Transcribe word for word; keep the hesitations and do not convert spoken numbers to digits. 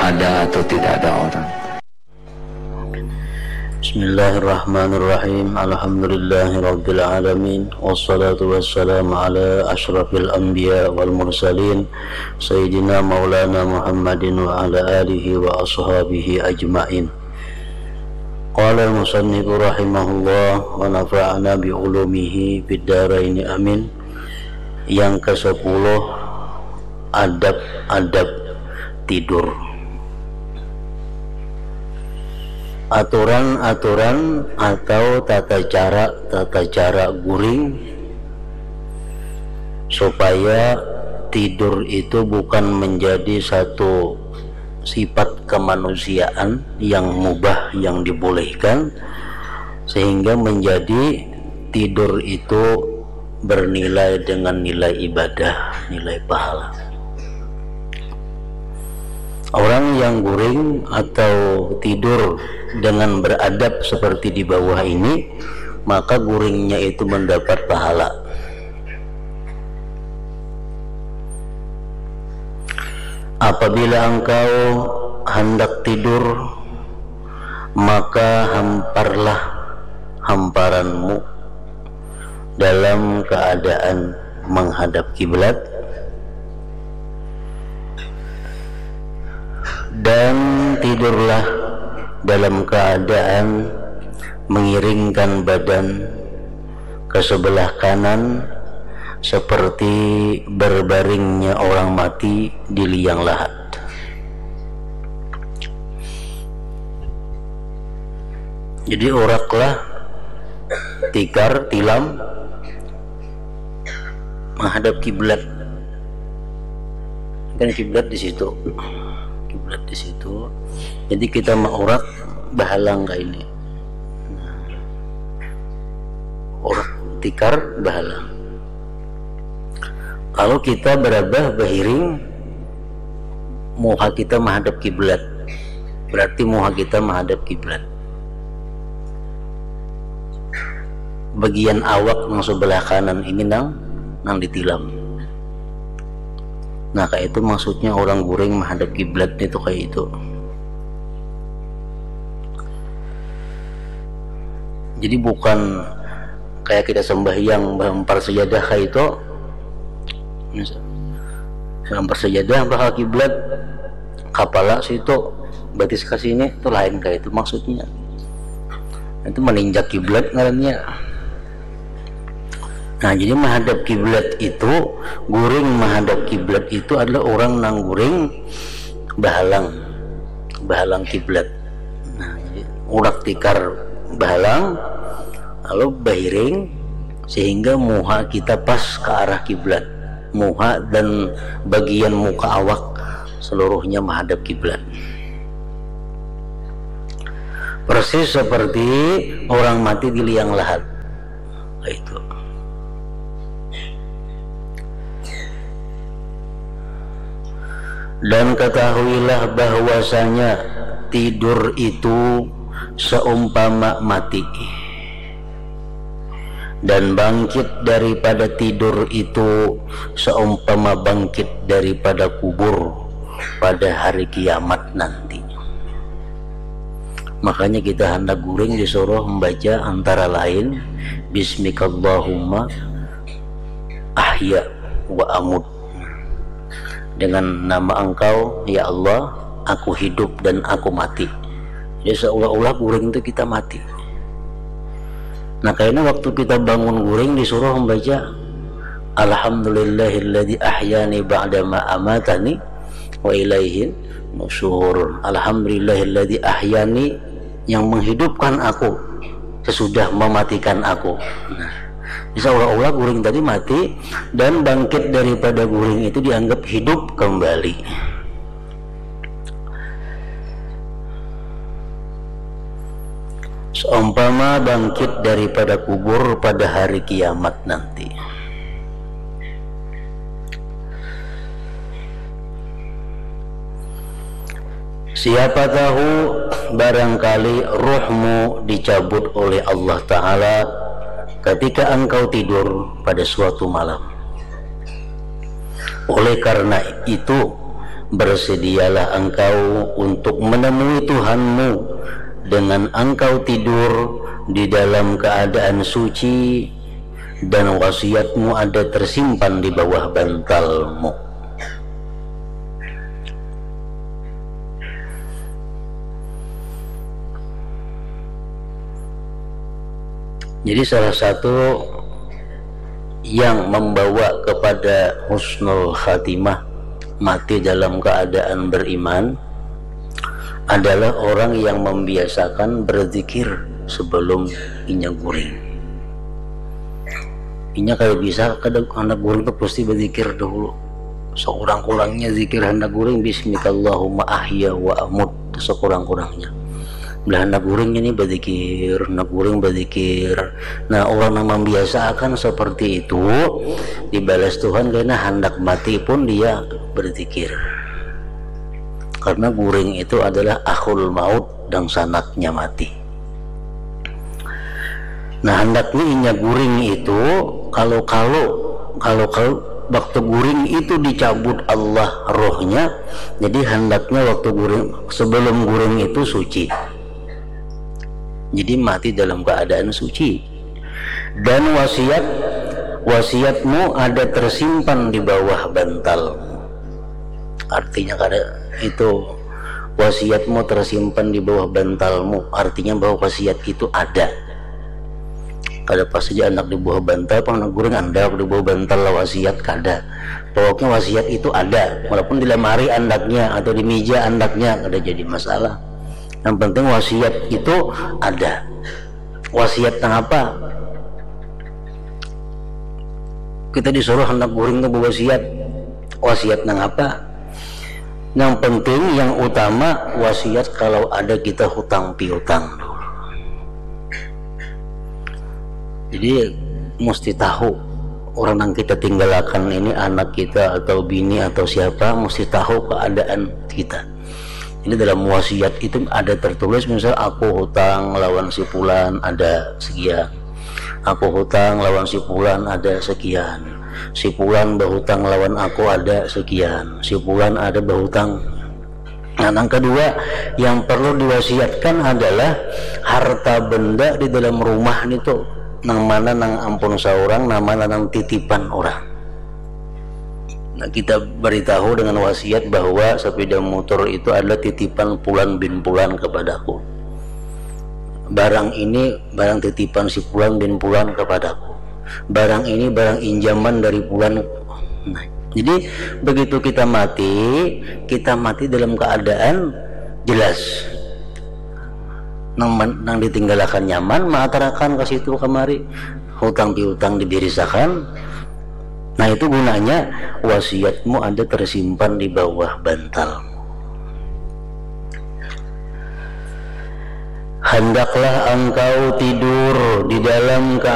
ada atau tidak ada orang. Bismillahirrahmanirrahim. Alhamdulillahirabbil alamin. Wassalatu wassalamu ala asyrafil anbiya wal mursalin, sayyidina maulana Muhammadin wa ala alihi wa ashabihi ajmain. Qala al-musannifu rahimahullah wa nafa'ana bi ulumihi fid daraini amin. Yang kesepuluh, adab-adab tidur. Aturan-aturan atau tata cara, tata cara guring supaya tidur itu bukan menjadi satu sifat kemanusiaan yang mubah, yang dibolehkan, sehingga menjadi tidur itu bernilai dengan nilai ibadah, nilai pahala. Orang yang guring atau tidur dengan beradab seperti di bawah ini, maka guringnya itu mendapat pahala. Apabila engkau hendak tidur, maka hamparlah hamparanmu dalam keadaan menghadap kiblat, dan tidurlah dalam keadaan mengiringkan badan ke sebelah kanan seperti berbaringnya orang mati di liang lahat. Jadi, uraklah tikar, tilam, menghadap kiblat. Kan kiblat di situ. Kiblat di situ. Jadi, kita maurak bahalang kayak ini. Urak tikar bahalang. Kalau kita berabah bahiring, muha kita menghadap kiblat. Berarti muha kita menghadap kiblat. Bagian awak nang sebelah kanan ini nang, nang ditilam. Nah, kayak itu maksudnya orang guring menghadap kiblat itu, kayak itu. Jadi, bukan kayak kita sembahyang bahampar sajadah kayak itu. Misal, bahampar sajadah bah ka kiblat, kapala situ, batis ke sini, itu lain kayak itu maksudnya. Itu meninjak kiblat ngarannya. Nah, jadi menghadap kiblat itu, guring menghadap kiblat itu adalah orang nang guring bahalang, bahalang kiblat. Nah, jadi urak tikar bahalang, lalu bahiring sehingga muha kita pas ke arah kiblat. Muha dan bagian muka awak seluruhnya menghadap kiblat. Persis seperti orang mati di liang lahat. Itu. Dan ketahuilah bahwasanya tidur itu seumpama mati. Dan bangkit daripada tidur itu seumpama bangkit daripada kubur pada hari kiamat nanti. Makanya kita hendak guring disuruh membaca antara lain, "Bismikallahumma ahya wa amut." Dengan nama Engkau, ya Allah, aku hidup dan aku mati. Jadi, seolah-olah guring itu kita mati. Nah, kayaknya waktu kita bangun guring disuruh membaca, "Alhamdulillahilladzi ahyani ba'dama amatani wa ilaihin nusyur." Alhamdulillahilladzi ahyani, yang menghidupkan aku sesudah mematikan aku. Nah, seolah-olah guring tadi mati dan bangkit daripada guring itu dianggap hidup kembali. Seumpama bangkit daripada kubur pada hari kiamat nanti. Siapa tahu, barangkali ruhmu dicabut oleh Allah Ta'ala ketika engkau tidur pada suatu malam. Oleh karena itu, Bersedialah engkau untuk menemui Tuhanmu dengan engkau tidur di dalam keadaan suci, dan wasiatmu ada tersimpan di bawah bantalmu. Jadi, salah satu yang membawa kepada husnul khatimah, mati dalam keadaan beriman, adalah orang yang membiasakan berzikir sebelum inya guring. Inya kada bisa kada handak guring tu pasti berzikir dahulu. Sekurang-kurangnya zikir handak guring, "Bismikallahumma ahya wa amut," sekurang-kurangnya. Bila handak guring ini berzikir, handak guring berzikir. Nah, orang yang membiasakan seperti itu, dibalas Tuhan karena handak mati pun dia berzikir. Karena guring itu adalah akhul maut, dangsanaknya mati. Nah, handaknya inya guring itu, kalau, kalau, kalau, kalau waktu guring itu dicabut Allah rohnya, jadi handaknya waktu guring, sebelum guring itu suci. Jadi mati dalam keadaan suci. Dan wasiat, wasiatmu ada tersimpan di bawah bantalmu. Artinya kada itu, wasiatmu tersimpan di bawah bantalmu, artinya bahwa wasiat itu ada. Kada pas saja anak di bawah bantal, pang handak guring andalak di bawah bantal lah wasiat, kada. Pokoknya wasiat itu ada, walaupun di lamari andaknya atau di meja andaknya, kada jadi masalah. Yang penting wasiat itu ada. Wasiat nang apa? Kita disuruh handak guring tu bewasiat. Wasiat nang apa? Yang penting, yang utama, wasiat kalau ada kita hutang piutang dulu. Jadi, mesti tahu orang yang kita tinggalkan ini, anak kita atau bini atau siapa, mesti tahu keadaan kita. Jadi, dalam wasiat itu ada tertulis, misal, "Aku hutang lawan si pulan ada sekian. Aku hutang lawan si pulan ada sekian. Si pulan bahutang lawan aku ada sekian. Si pulan ada bahutang." Nah, yang kedua yang perlu diwasiatkan adalah harta benda di dalam rumah nitu, nang mana nang ampun saurang, nang mana nang titipan orang. Nah, kita beritahu dengan wasiat bahwa sepeda motor itu adalah titipan pulan bin pulan kepadaku. Barang ini barang titipan si pulan bin pulan kepadaku. Barang ini barang injaman dari pulan. Nah, jadi begitu kita mati, kita mati dalam keadaan jelas. Nang, nang ditinggalakan nyaman, maatarakan ke situ kemari, hutang piutang dibirisakan. Nah, itu gunanya wasiatmu ada tersimpan di bawah bantalmu. Handaklah engkau tidur di dalam keadaan